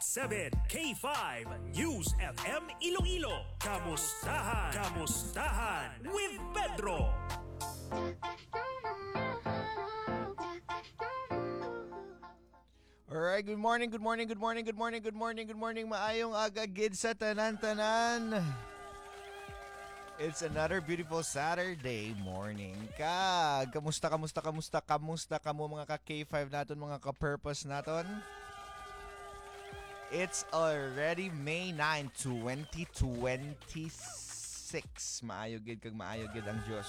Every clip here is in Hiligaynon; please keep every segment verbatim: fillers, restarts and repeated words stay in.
Seven K five News F M Iloilo. Kamustahan? Kamustahan with Pedro. Alright, good morning, good morning, good morning, good morning, good morning, good morning. Maayong aga gid sa tanan-tanan. It's another beautiful Saturday morning. Kag, kamusta, kamusta, kamusta, kamusta kamo, mga ka K five naton, mga ka-purpose naton? It's already May nine, twenty twenty-six. Maayo gid kag maayo gid ang Dios.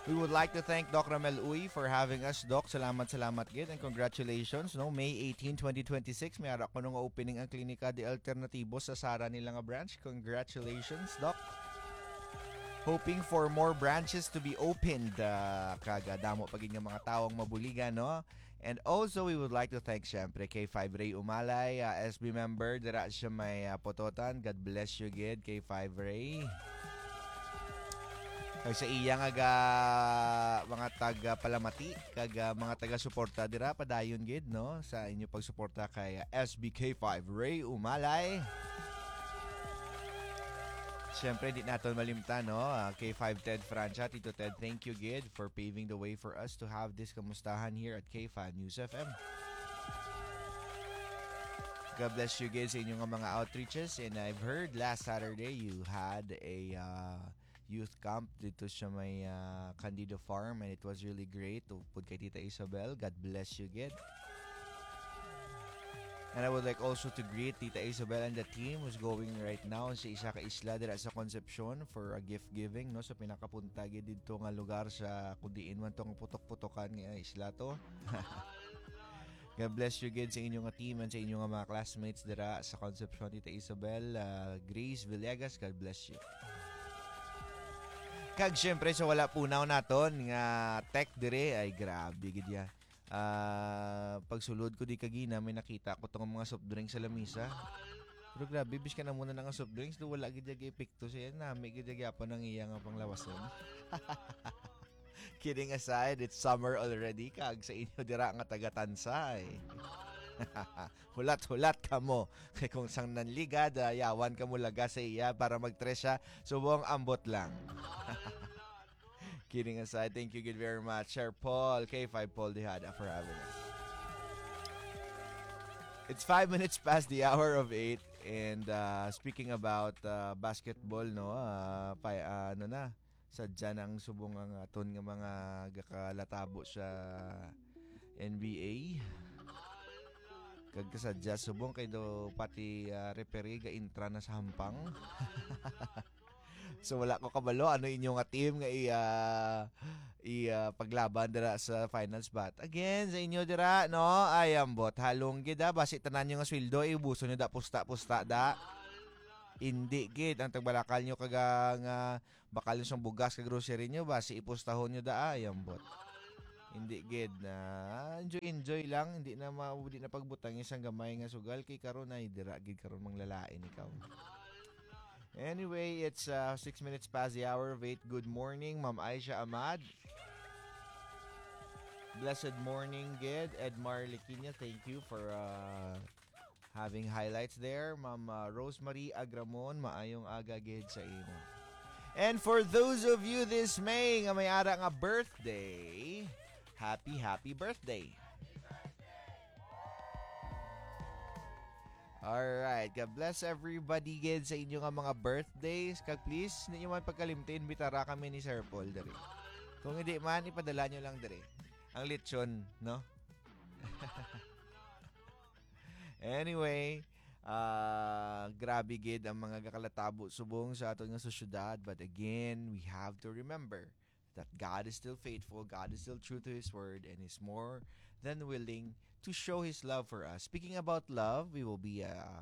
We would like to thank Doc Ramel Uy for having us, Doc. Salamat, salamat gid, and congratulations, no? May eighteen, twenty twenty-six, may ara kuno nga opening ang Klinika de Alternatibo sa Sara nila nga branch. Congratulations, Doc. Hoping for more branches to be opened, ah, kag, ah, damo pa gid nga mga tawo ang mabuligan, no? And also, we would like to thank, syempre, K five Ray Umalay, ah, S B member, dira siya may, ah, Pototan. God bless you gid, K five Ray. Kag sa iya nga ga, mga taga palamati, kag, ah, mga taga suporta dira, padayon gid, no, sa inyo pagsuporta kay, ah, S B K five Ray Umalay. Siyempre, di naton malimtan, no? Ah, K five Ted Francia, Tito Ted, thank you gid for paving the way for us to have this kamustahan here at K five News F M. God bless you gid sa inyong mga outreaches. And I've heard last Saturday you had a, uh, youth camp dito sa may, uh, Candido Farm, and it was really great. Upod kay Tita Isabel, God bless you gid. And I would like also to greet Tita Isabel and the team who's going right now sa isa ka isla dira sa Concepcion for a gift giving, no, sa pinakapunta gid didto nga lugar sa kung diin man tong putok-putokan nga isla to. God bless you gid sa inyo nga team and sa inyo nga mga classmates dira sa Concepcion, Tita Isabel, ah, Grace Villegas, God bless you. Kag syempre sa wala punaw naton nga tech dire, ay grabe gid ya. Ah, pagsulod ko di kagina, may nakita ko tong mga soft drinks sa lamisa. Pero grabe, biskan na muna nga soft drinks, do wala gid ya epekto siya. Nami gid ya gyapon ang iya nga panglawason. Kidding aside, it's summer already, kag sa inyo dira nga taga Tansay. Hulat-hulat kamo. Kay kung sang nanligad, ah, yawan kamo laga sa iya para magtres siya. Subong ambot lang. Kidding aside, thank you gid very much, Sir Paul, K five Paul Dejada, for having us. It's five minutes past the hour of eight, and, uh, speaking about, uh, basketball, no, uh, pa, uh, ano na, sadya na ang subong ang aton nga mga gakalatabo sa N B A. Kag kasadya subong kay do pati, uh, referee ga intra na sa hampang. So, wala ko kabalo ano inyo nga team nga i, ah, i, ah, paglaban dira sa finals. But again, sa inyo dira, no? Ay, ambot, halong gid, ah. Basi tanan nyo nga sweldo, iubuson nyo da pusta-pusta da. Hindi gid ang tagbalakal nyo kaga nga bakal nyo sang bugas ka grocery nyo, basi ipustahon nyo da, ay, ambot. Hindi gid na enjoy enjoy lang, hindi na ma, hindi na pagbutang isang gamay nga sugal kay karon ay dira gid karon manglalain ikaw. Anyway, it's, uh, six minutes past the hour of eight. Good morning, Ma'am Aisha Ahmad. Blessed morning, gid. Edmar Liquiña, thank you for, uh, having highlights there. Ma'am, uh, Rosemary Agramon, maayong aga gid sa imo. And for those of you this May nga may ara nga birthday, happy, happy birthday. Alright, God bless everybody gid sa inyo nga mga birthdays. Kag please, ninyo man pagkalimti, imbitara kami ni Sir Paul diri. Kung hindi man, ipadala nyo lang diri. Ang lechon, no? Anyway, ah, grabe gid ang mga gakalatabo subong sa aton nga sosyedad. But again, we have to remember that God is still faithful, God is still true to His word, and is more than willing to show His love for us. Speaking about love, we will be, uh,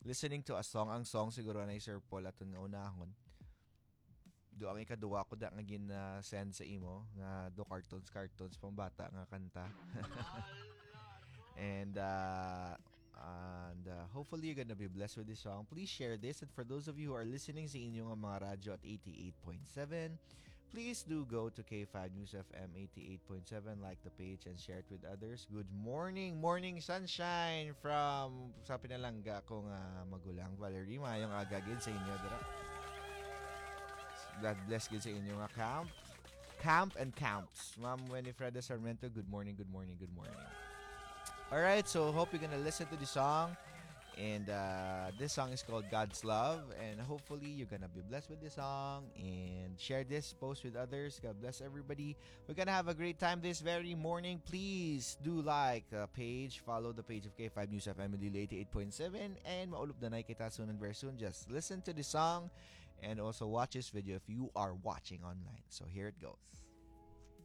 listening to a song. Ang song siguro na Sir Paul aton nga unahon. Do ang ikaduwa ko da nga gin, uh, send sa imo nga do cartoons, cartoons pang bata nga kanta. And, uh, and, uh, hopefully you're gonna be blessed with this song. Please share this. And for those of you who are listening sa inyo nga mga radyo at eighty-eight point seven, Please do go to K five News F M eighty-eight point seven, like the page, and share it with others. Good morning, morning sunshine from sa pinalangga ko nga magulang, Valerie. Mayong aga gid sa inyo dira. God bless gid sa inyo nga camp. Camp and camps. Ma'am Winifreda Sarmiento, good morning, good morning, good morning. All right, so hope you're gonna listen to the song. And uh, this song is called God's Love. And hopefully, you're gonna be blessed with this song. And share this post with others. God bless everybody. We're gonna have a great time this very morning. Please do like the page, follow the page of K five News F M Iloilo eighty-eight point seven, and maulop na na kita soon and very soon. Just listen to the song and also watch this video if you are watching online. So here it goes.